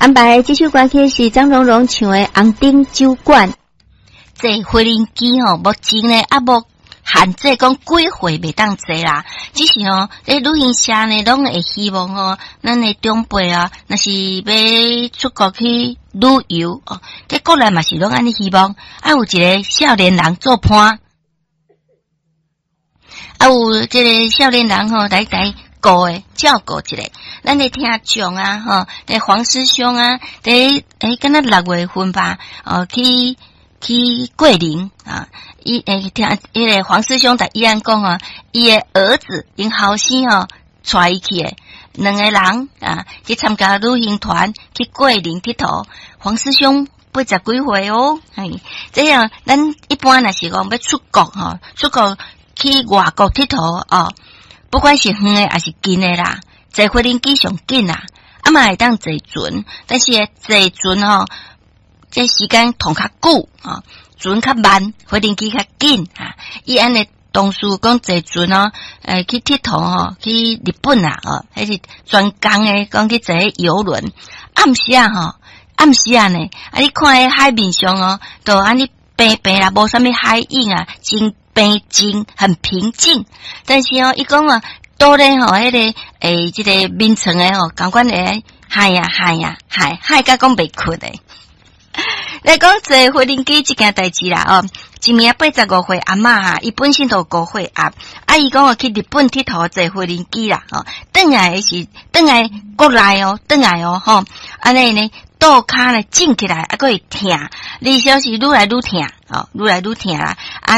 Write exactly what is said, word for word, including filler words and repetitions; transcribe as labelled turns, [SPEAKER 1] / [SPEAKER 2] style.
[SPEAKER 1] 安排這首歌曲是張榮榮唱的《紅燈酒館》。
[SPEAKER 2] 坐飛輪機吼，目前呢猶無限制講幾歲袂當坐啦，只是吼，咧旅行社呢攏會希望吼，咱的長輩啊，若是欲出國去旅遊哦，佇國內嘛是攏按呢希望，啊有一个少年人做伴，啊有這个少年人吼來來顧的照顧一下，咱咧聽眾啊吼，咧黃師兄啊，佇欸敢若六月份吧，哦去。去桂林啊！伊欸聽彼个黃師兄佇伊按講啊，伊的兒子𪜶後生吼帶伊去的，兩個人啊去參加旅行團去桂林𨑨迌。黃師兄八十幾歲哦，嘿，這樣咱一般若是講欲出國吼，出國去外國𨑨迌哦，不管是遠的抑是近的啦，坐飛輪機上緊啦，啊嘛會當坐船，但是坐船吼。這時間通較久啊，船較慢，飛輪機較緊啊。伊按呢同事講坐船哦，欸去𨑨迌吼，去日本啊，哦，彼是專工的，講去坐遊輪。暗時啊吼，暗時啊呢，啊你看彼海面上哦，都按呢平平啦，無啥物海湧啊，真平靜，很平靜。但是哦，伊講啊，倒咧吼，彼个欸，這个眠床的吼，仝款會害啊害啊害害甲講袂睏的。來講坐飛輪機這件代誌啦，哦，一名八十五歲阿嬤哈，伊本身就高血壓，啊，伊講去日本𨑨迌坐飛輪機啦，哦，轉來的是轉來國內哦，轉來哦，吼，按呢呢，倒跤呢腫起來，啊，閣會疼，而且是愈來愈疼，哦，愈來愈疼啦，啊。